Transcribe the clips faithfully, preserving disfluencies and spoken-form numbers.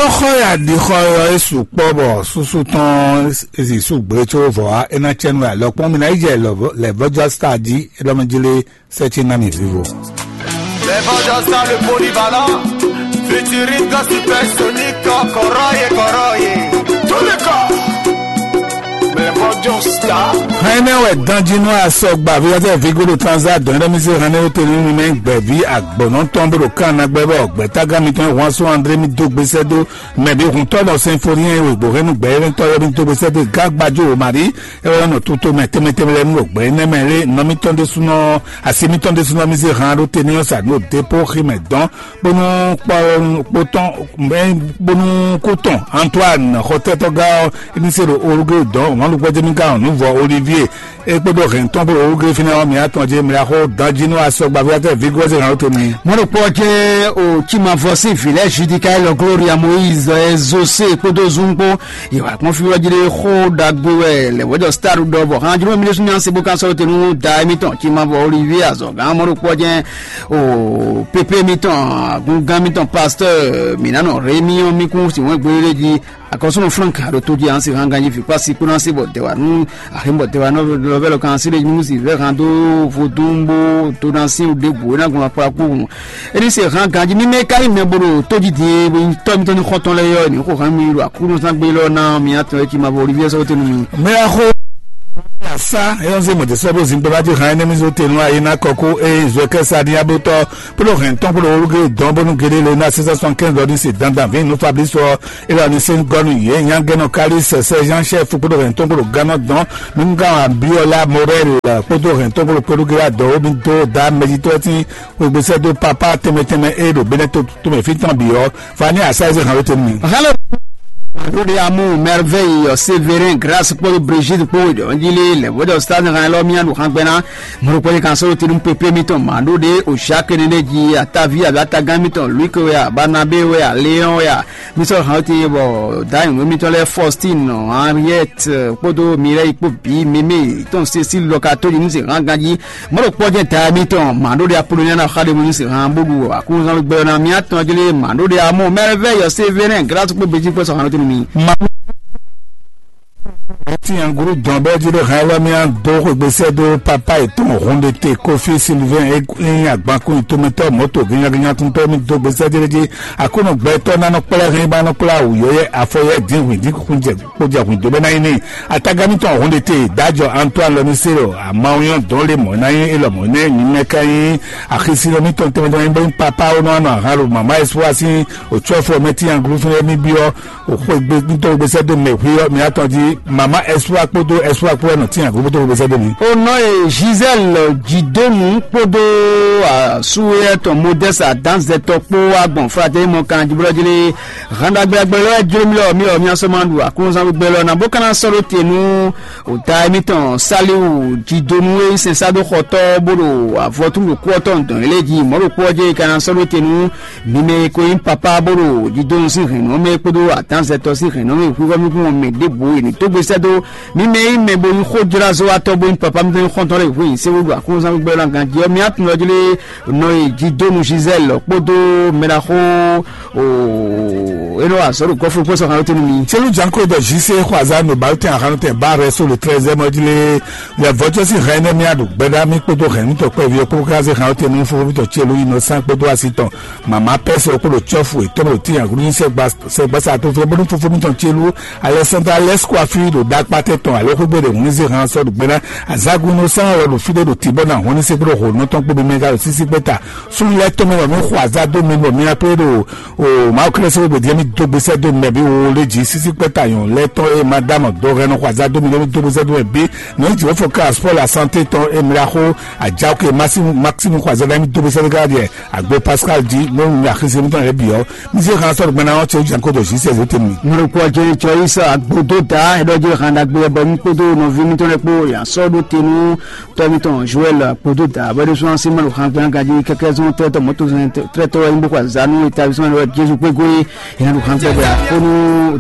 Xɔ ya ɖi xɔ ɔ́, é su kpɔ́ bɔ súsú tɔn é su gbé có vɔ̌ wá, é ná cɛ́ nú wɛ alɔkpɔ́n. Mi ná yi jɛ lɛ̌vɔ́já star jí, é ɖɔ mɛ jí lé sɛ́ ce ná mi vivo. Lèvɔjɔ sá le polyvalent, futuriste gospel sonic, kɔrɔye kɔrɔye. Tous les corps. Lèvɔjɔ star. Hɛn nɛ wɛ danjinu asɔgba vi ɔtɛ vigodo transa dɔn ɖe mi se hɛn nɛ o teli mi mɛ gbɛvi agbɔnɔ tɔn bolo kan na gbɛ bɔ gbɛtaga mi tɔn wan so andre mi do gbese do mɛ bi hun tɔ nɔ sinfonien wegbo hɛn nu gbɛ yɛlɛ tɔ yɛ mi do gbese do gagbajo o mari e wɛ nɔ tuto mɛ tɛmɛ tɛmɛ lɛ nu o gbɛ nɛ mɛ le nɔ mi tɔn de sunɔ asi mi tɔn de sunɔ mi se hɛn ɖo teni ɔsa nu o depo xi mɛ dɔn bónú kpɔtɔn bónú kútɔn Antoine xɔtɛtɔgá ɔ ní se ɖo orugé dɔn wọn lukpɛ jɛmi gán nuvɔ Olivier e kpódó hɛn tɔn kpó orugé fínɛ ɔ́ mi atɔn jɛ mlɛ xó danjinu asɔgbavi atɛ vigose hàn tó mi. Mɔɖokpɔ jɛ o cimavɔ sín vǐ lɛ́ɛ Judika lɔ Gloria Moïse ɛ Zose kpódó zun kpó yewa kpɔn fi wɛ jɛ xó ɖagbe wɛ lɛ wɛjɔ star ɖɔ bɔ hàn jùlọ mi ɖésú mi ansi bó kan sɔrɔ tenu da émi tɔn cimavɔ Olivier azɔgán mɔɖokpɔ jɛ o pépé mitɔn agungán mitɔn pasteur minanɔ Rémi ɔ́ mi kún si wɛn gbélé jí akɔsúnɔ Frank aɖo tó jí ansi hàn ganjí fi kpasi kpóná sí bɔ dɛwà nú aximɔ dɛwà nɔ lɔvɛ lɔ kan sí ɖe nú si vɛ hàn dó vodún bó dó ná sí ɖé bǔ é ná gbɔn akpla kpó hùn. Éní se hàn ganjí mímɛ ká yi mɛ bó ɖo tó jí din tɔ́ mitɔn ní xɔtɔn lɛ yɔ ní xó hàn mi ɖo akúnú sán gbé lɔ ná mi atɔn é cí ma bɔ Olivier sɔ́ tɛnu mi. Mɛ xó asa eyɔn se mɔtɛ sɔbɔ zinkpɛ bá ti hàn ɛnɛmi so tenu ayi na kɔkó eye zɔɛ kɛsa ni abotɔ kpódó hɛn tɔn kpódó woluge dɔn bónú gele le na six cent soixante-quinze dɔ ni se dandan vin nu Fabrice ɔ ela ni se gɔnu ye nyagɛnɔ kali sɛsɛ Jean chef kpódó hɛn tɔn kpódó ganɔ dɔn nunga Abiola Morel kpódó hɛn tɔn kpódó kpódó gela dɔ wo mi do da mɛjitɔ ti wegbe sɛ do papa tɛmɛ tɛmɛ eye ɖo benɛ to tɔmɛ fi tɔn bi ɔ fa ni asa eze hàn wete mi. Halo. Maɖo ɖe amu merveille Sévérin grâce kpódó Brigitte kpó ɖɔnjili le wɛdɔ stade hàn lɔ mia ɖo hàn gbɛna mɔɖokpɔ yi kan sɔrɔ tinu pépé mitɔn maɖo ɖe o Jacques ne ɖe ji atavi abe atagán mitɔn Luc wɛ a Barnabé wɛ a Léon wɛ a mi sɔrɔ hàn wete bɔ dayi nǔ mitɔn lɛ Faustine Henriette kpódó Mireille kpó bi mémé tɔn Cécile lɔ ka tó ɖi nú se hàn ganji Mɔɖo kpɔ́ jɛ́n ta mitɔn maɖó ɖe Apoloniya ná xa ɖe mo ní se hàn bó ɖu akúnzán gbɛ ɔ́ ná mì atɔn jlé maɖó ɖe amɔ mɛrɛvɛ yɔ sévénɛ glásu kpó bejí kpó sɔ hàn lótenu mi. Maɖó ti anguru dɔn bɛ jí ɖe hàn ɛlɔ mi adó xwegbe sɛ dó papa etɔn hɔn ɖe te kofi Sylvain e yin agbankun itomɛtɔ mɔto gɛnyagɛnya tuntɔ mi dó gbesɛ jɛ jí akónɔ gbɛtɔ nanɔ kplɛ hɛn ba nɔ kplɛ awu yɔyɛ afɔ yɛ dín hwìn dín kun jɛ kpó jɛ hwìn dó bɛ ná yi ní. Atagami tɔn hɔn ɖe te dajɔ Antoine lɔ mi se lɔ amawu yɔn dɔn le mɔ ná yi elɔ mɔ nɛ nyimɛ ka yi axisi lɔ mi tɔn tɛmɛ tɔn yi bɔ papa wo nɔ anɔ ahan lo mama espoir si otsɔ fɔ mɛ ti anglu fún mi bi ɔ o xwegbe ŋutɔ gbèsè do mɛ hui ɔ mi atɔn di mama espoir kpódó espoir kpó ɛnɔ ti anglu kpódó gbèsè do mi. O nɔ ye Gisèle Jidonu kpódó suwéyɛtɔ Modeste adanzɛtɔ kpó agbɔn fratɛ mɔ kan jibrɔ jeli handa gbɛgbɛ lɔ jeli mi lɔ mi lɔ mi asɔmɔ ɖu aklunzan gbɛ lɔ na bó kana sɔ́ ɖó te nú o ta émítɔn Saliu Jidonu e sɛn sá dó xɔtɔ́ bó ɖo avɔtúmɔ kú ɔtɔn dɔn ilé ji mɔ̌ ɖo kú ɔ́ jɛ kana sɔ́ ɖó te nú mi mɛ e ko nyí papa bó ɖo jidonu sín hɛ̌nnɔ mɛ kpódó adanzɛtɔ sín hɛ̌nnɔ mɛ hwíhɔ́ mi kún mɛ ɖěbǔ e ní dó gbe sɛ́ dó mi mɛ nyí mɛ bo nyí xójlázɔ́watɔ́ bo nyí papa mi tó nyí xɔ́ntɔn lɛ́ɛ hwǐ sɛ́wó ɖo aklúnzán gbígbɛ́ ɔ́ ná ganjí ɔ́ mi atun ɔ́ jlé nɔ e jidonu Gisèle kpódó mɛɖaxó enɔ azɔ̌ ɖo gɔ́flú kpó sɔ́ hàn lótenu mi. Selu janko dɔ jise xɔ azan no balte axanu tɛ ba rɛ so le treize mɔ jlé le vɔjɔ si hɛn ne mia ɖo gbɛɖa mi kpódó hɛn mi tɔ kpɛvi ɔkpó ká se hàn lótenu fofo mi tɔ celu yi nɔ san kpódó asi tɔn mama pɛsɛ kpódó tsɔfu etɔn ɖo ti agun sɛgbasa to fɛ bónú fofo mi tɔn celu Alexandre Alesco afi ɖo ɖakpatɛ tɔn alo xwégbe ɖe hun ní se hàn sɔ ɖo gbɛɖa azagun nɔ san wɛ ɖo fi ɖe ɖo tibɔ na hɔn ní se kpódó hɔn nɔ tɔn kpódó mɛ ká ɖo sisi kpɛta Sunu lɛ tɔn mɛ bɔ mi xɔ aza dó mi bɔ mi akplé ɖo o Mawu Kristu bɔ diɛ mi dó gbèsè dó mɛ bi wo lé dzi sisi kpɛta yɔn lɛ tɔn e madame dó hɛn nɔ xɔ aza dó mi lé mi dó gbèsè dó mɛ bi nɔ yi dzi wofo ka sport la santé tɔn e mi la xo ajawo ke Maxime Maxime xɔ aza dó mi dó gbèsè dó ká diɛ agbo Pascal di mo mi axisi mi tɔn yɛ bi ɔ mi se kan sɔrɔ gbɛna ɔ tse jan ko dɔ si sɛ zote mi. Mɔrɔkɔ jɛ tsɔ yi sa agbo dó da ɛdɔ jɛ handa gbé bɔ mi kpódó nɔvi mi tɔn lɛ kpó yasɔ ɖó tenu tɔmi tɔn Joël kpódó da bɔ ɖésú ansi mɛlò hàn gbɛn ganji kɛkɛ zɔn tɛtɔ mɔto tɛtɔ ɛyin bó kɔ azanu eta bisɔn ɛdɔ Jésù kpé goe yẹn Hàn gbɛgbɛ àkónú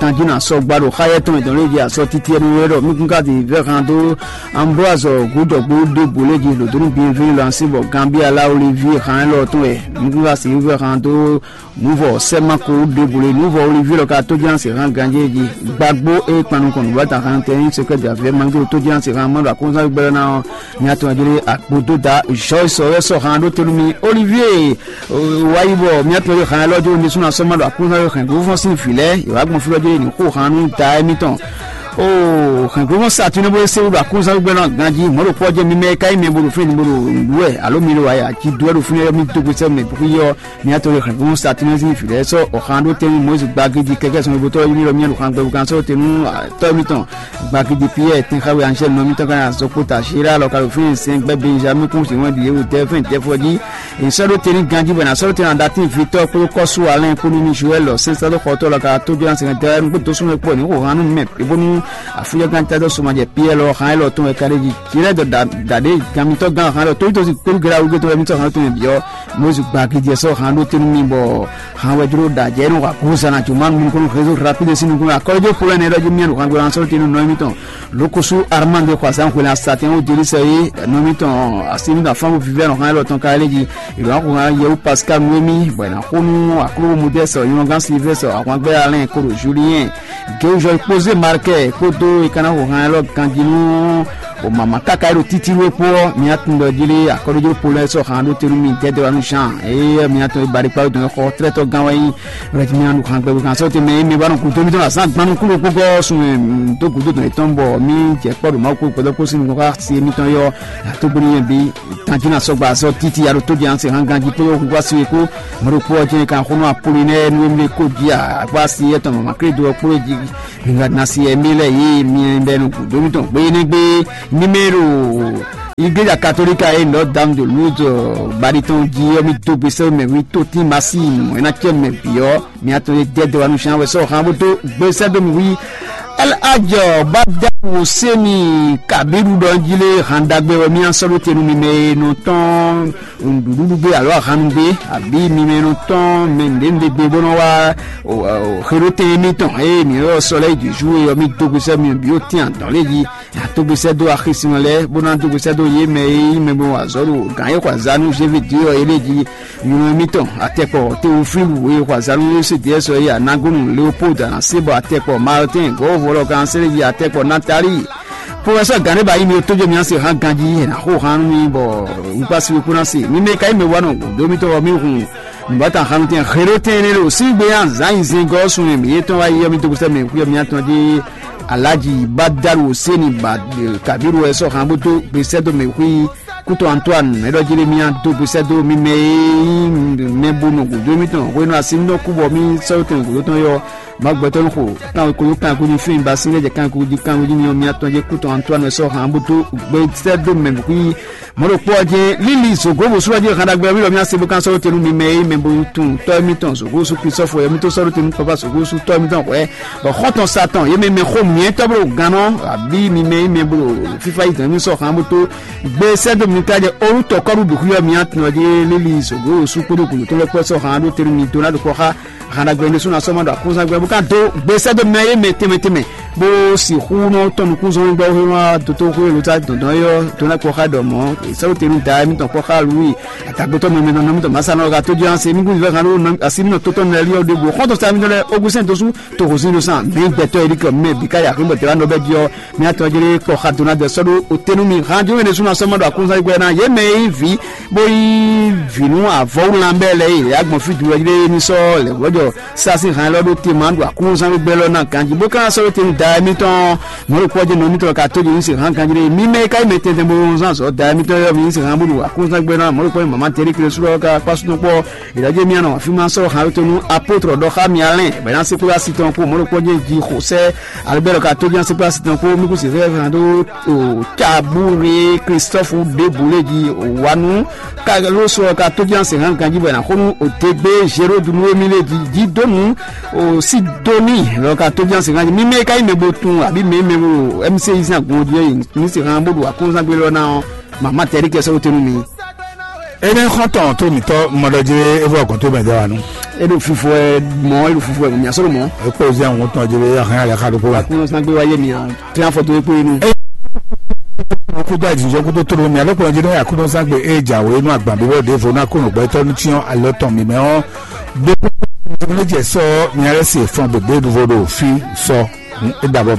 tanjínà sɔgba ɖo xáyɛ tɔn ìdánwò lé jí asɔ títí ɛnu wɛ ɖɔ mí kún ká ti vɛ hàn dó Ambroise Gúdɔ̀gbó ɖěbǔ lé jí lòdó ní Bienvenu lancé bɔ Gambia lá Olivier hàn élɔ́ tɔn wɛ mí kún ká si vɛ hàn dó Nuvɔ sɛmako ɖěbǔ lé nuvɔ Olivier lɔ ka tó ján se hàn ganjé jí gbàgbó é kpannukɔn nǔbata hàn tɛ ní sɛkɛ dě avɛ mangi tó ján se hàn mɔɖo akɔnzán gbɛlɛ ná ɔ́. Mía tɔn jlé akpodó da Joyce ɔyɔ sɔ hàn ɖó tenu mi Olivier. Wáyí bɔ mía tɔn jlé hàn lɔ jó ní súnà sɔ mɔɖo akɔnzán yɔ hɛn gbófɔn sín vǐ lɛ yɔ wá gbɔn fúlɔ jlé ní xó hàn nú da émítɔn. O hɛn gbófɔn sa tún ní bó se wúɖu akɔnzán gbɛlɛ ná ganjí mɔɖo kpɔ jɛ mi mɛ ká yi mɛ bolo fún ní bolo wɛ alo mi lo wáyà jí dúwɛ ɖo fún yɔ mi dógbe sɛ mɛ bó yɔ. Mía tɔn e hɛn gún Satinɛzi vǐ lɛ́ɛ sɔ́ ɔ̀xan ɖó tɛ́nnu Mɔyízi gbagidi kɛkɛ sɔn ibo tɔ́ ylɔ́ mía ɖo xan gbɛbú kan sɔ́ te nú tɔ́ mitɔn. Gbagidi Piyɛ́ɛ tɛnxáwe anjɛ́ nɔ mitɔn kan azɔkpota Zéra lɔ ka ɖo fínɛ́ sɛn gbɛ́ Benjamin kún si wɛn ɖi yě wú tɛ́ fɛn tɛ́ fɔ jí. È sɔ́ ɖó te ní ganjí bɔ è nǎ sɔ́ ɖó te nǎ ɖó atín vitɔ́ kpódó kɔ́sú Alɛ́n kpó nú ní Joɛ́l lɔ sɛ́n sɛ́dó xɔtɔ́ lɔ ka tó jɔ ná sɛn tɛ́ nú kpódó súnmọ́ kpó ní xo han nú mɛ é bónú afúnjɛ gán tɛ́ dó sɔmajɛ Piyɛ́ɛ lɔ xan élɔ́ tɔn wɛ ka ɖ'é jí. Jǐlɛ́ dɔ dǎ dǎ ɖé gan mitɔ́ gán xan élɔ́ tó tó si kpódó gɛ́ awu gé tó wɛ mitɔ́ xan élɔ́ tɔn mɛ bǐ ɔ́. Mose gba gidi ɛ sɔ́ han ɖó te nú mi bɔ han wɛ jló ɖa jɛ nɔ wa gozan na juma nu nukɔn réseau rapide sin nukɔn akɔlɔjɔ polɛ nɛ ɖɔ jí miɛ ɖo han gbɛlan sɔ́ te nú nɔ mitɔn. Lokosu Armand xɔ azan xwena satɛn wo jeli sɛ yi nɔ mitɔn asi mitɔn afan vivɛ nɔ han lɔ tɔn ka lɛ ji. Ìlú akɔ han yɛwu Pascal Noemi bɔ na xo nú aklo modèle sɔ yɔngán Sylvestre ahwangbɛ Alain koɖo Julien. Géwúzɔ kpózé Markɛ kpódó e ka ná xo han élɔ́ ganjí nú o mama káká e ɖo títí wé kpó ɔ́, mi atundɔ jí lé akɔ́ɖójó Polɛ́ sɔ́ han ɖó te nú mi dɛdɛ wá nú Jean eye mi atɔn e baɖi kpá dɔn xɔ tlɛ́tɔ́ gán wɛ nyí. Rɛtimianu han gbɛgbɛ kan sɔ́ te mɛ mi ba nɔ gǔdo mitɔn azán gbanu kúló kpókɔ sun dó gǔdo dɔn yětɔn bɔ mi jɛ kpɔ́ ɖo Mawu kpó gbɛdɔ́ kpó sín nukɔn xá si mitɔn yɔ. Tógbóni yɛn bí tanjínà sɔgba azɔ títí aɖo tó jɛ anse hán ganjí kpó yɔ kúkú asi wé kó. Mɔɖokpó ɔ́ jẹ́ kan xónú Apollinɛ́ɛ nú émí kó jí akpá asi etɔn mama Kristo ɔ́ kpló jí. Ŋa nasi ɛmí lɛ yě mi bɛ nɔ gǔdo mitɔn gbé nɛ́ gbé. Mímɛ́ ɖo igleja katolika e Notre Dame de Lourdes baɖi tɔn jí ɔ́, mì dó gbe sɛ́ mɛ wí tótín masi mɔ̌ é ná cɛ mɛ bǐ ɔ́, mi atɔn e dɛdɛ wa nú sian wɛ sɔ́ hán bó dó gbe sɛ́ dó mì wí. Ɛl ajɔ bá dá wò sɛ́ mi kàbí ɖuɖɔ jí lé hán ɖagbe wɛ mì asɔ́ ɖó te nú mi mɛ e nɔ tɔn nǔɖuɖu gbé alo ahanu gbé, abǐ mi mɛ nɔ tɔn mɛ nǔɖé nǔɖé gbé bó nɔ wá xeɖótɛn émítɔn eye mǐ ylɔ́ sɔ lɛ́ɛ yi jǐxú e ɔ́, mì dó gbe sɛ́ mi bǐ ó tɛ́n adɔ̌ lé jí. Nya dó gbe sɛ́ dó axisínɔ lɛ́ɛ bó ná dó gbe sɛ́ dó yě mɛ e nyí mɛ bó wa azɔ̌ ɖo gǎn e xɔ azǎn nú Jévidéɔ é lé jí. Nylɔ́ émítɔn atɛkpɔ Teofílu e xɔ azǎn nú Yosediɛ́sɔ é anagónu Leopoldu anasébɔ atɛkpɔ Martin gɔ̌vɔlɔ kanséléji atɛkpɔ Natali. Professeur Ganeba yi mi tójó mi ase hán ganjí ena xó hán nú mi bɔ wípásí wípó ná se mi mɛ ka yi mɛ wa nɔ dó mi tɔgɔ mi hun nùbátà hanu tɛn xeɖó tɛn ne ɖo sín gbé ya zan yi zɛngɔ sun ne mi yetɔn wa yi yɔ mi dogosɛ mɛ xuyɔ mi atɔn dé alaji badalu seni ba kabiru wɛ sɔ hàn bó tó gbèsè dó mɛ xui kútó Antoine mɛ ɖɔ Jeremia dó gbèsè dó mi mɛ e mɛ bo nɔ gòdó mi tɔn hwenu asi nɔ kú bɔ mi sɔ́ tɛn gòdó tɔn yɔ. Magbɛtɔ́ ní xo kan kolo kan kó ní fín ba sín lɛ́ jɛ kan kó jí kan kó jí ní ɔ́ mía tɔn jẹ́ kútɔn Antoine sɔ́ hàn bó tó gbé sɛ́ dó mɛ bùkún yí. Mɔ̌ ɖo kpɔ́ ɔ́ jẹ́ líli zǒgó bó sú ɔ́ jẹ́ hàn ɖagbe ɔ́ mí lɔ mía se bó kán sɔ́ dó te nú mi mɛ é mɛ bó tún tɔ́ émítɔn zǒgó sú Kristɔ́fɔ ɔ́ mí tó sɔ́ dó te nú papa zǒgó sú tɔ́ émítɔn hwɛ̌. Bɔ xɔ́ntɔn Satan yě mɛ mɛ xó mǐtɔn bó ɖo gannɔ abí mi mɛ é mɛ bó ɖo fífá yi dɔ̌n mí sɔ́ hàn bó tó gbé sɛ́ dó mi ká jɛ orútɔ kɔ́ɖu bǐ xwí ɔ́ mía tun ɔ́ jẹ́ líli zǒgó sú kpódó gǔdo tó lɛ́ kpɔ́ sɔ́ hàn ɖó te nú mi dó ná ɖo kpɔ́ xá. Hana gbɛ ne suna sɔmɔ ɖo akúnzan gbɛ bó ká dó gbèsè dó mɛ ye mɛ tɛmɛ tɛmɛ bó si hu nɔ tɔn nukúnzɔn gbɔ he nɔ doto hu elu ta dɔndɔn yɔ dona kpɔ xa dɔ mɔ sɛwo tenu da mi tɔn kpɔ xa lui atagbotɔ mɛ mɛ nɔ mi tɔn masa nɔ ka to jɔ se mi gu vɛ kan do asi mi nɔ totɔ nɛ liɔ de go xɔtɔ sa mi tɔ lɛ ogusin dosu to hosin do san mi gbɛtɔ yi di kɔ mɛ bi ka ya ko gbɛtɔ la nɔ bɛ diɔ. Mía tɔn jlé kpɔ xa dona dɛ sɔɖo otenu mi hã jɔ ne suna sɔmɔ ɖo akúnzan gbɛ na ye mɛ yi vi bó yí vǐ nú avɔwúlan bɛ́ lɛ́ɛ yi lě agbɔn fí dulɔ jlé ní sɔ́ lɛ̌ wlɔ́jɔ sásí hɛn lɔ ɖó te ma ɖo akúnzán gbígbɛ lɔ ná ganjí bó ka sɔ́ ɖó te nú da émítɔn mɔ̌ ɖo kpɔ́ jɛ nɔ émítɔn ka tó jɛ ní se hán ganjí ɖé mí mɛ ka yi mɛ tɛntɛn bó zán zɔ da émítɔn yɔ mí ní se hán bó ɖo akúnzán gbígbɛ ná mɔ̌ ɖo kpɔ́ mama tɛ́rí kle sú lɔ ka kpá súnɔ kpɔ́ ìdájọ́ mí anɔ fí ma sɔ́ hán ɖó te nú apótrɔ ɖɔ xá mi alɛn bɛ ná se kpó asi tɔn kpó mɔ̌ ɖo kpɔ́ jɛ jí xo sɛ alɛgbɛ lɔ ka tó jɛ ná se kpó asi tɔn kpó mí kú se fẹ́ hán ɖó o Tabure Kristɔfu ɖěbǔ lé jí wanu kalo sɔ ka tó jɛ ná se hán ganjí bɔ ná xó nú o degbe Zerodu nú émí lé jí jí dó nú o Sidoni lɔ ka tó jɛ ná se hán jí mí mɛ ka yi mɛ bo tun abí mɛ mɛ bo MC yi sín agun jí ní se hán bó ɖo akɔnzán gbé lɔ ná ɔ mama tɛ́rí kɛ sɔ́ tenu mi. Énɛ́ xɔ́ntɔn tó mǐtɔn mɔɖɔjé é vɔ gɔ̌n tó mɛ dɛ wa nú. E ɖo fifo ɛ mɔ, e ɖo fifo ɛ mɔ, mia sɔrɔ mɔ. Ekpó zɛ ń tɔn jé ahán alẹ́ xa ɖokpó wɛ. Akúnú sangbe wa yé mia, tẹ́ afɔ tó ekpó yé nu. Kúdó àjìjọ kúdó tó mia ló kplɔ́n jí ní akúnú sangbe é jà wé nú agbǎn bí wọ́n ɖě vo ná kúnnù gbẹ́tọ́ ní cyɔ́n alɔ tɔn mǐmẹ́ ɔ́. Gbogbo ní jẹ sɔ mia lɛ se fɔn gbegbe nuvo ɖo fí sɔ. É ɖabɔ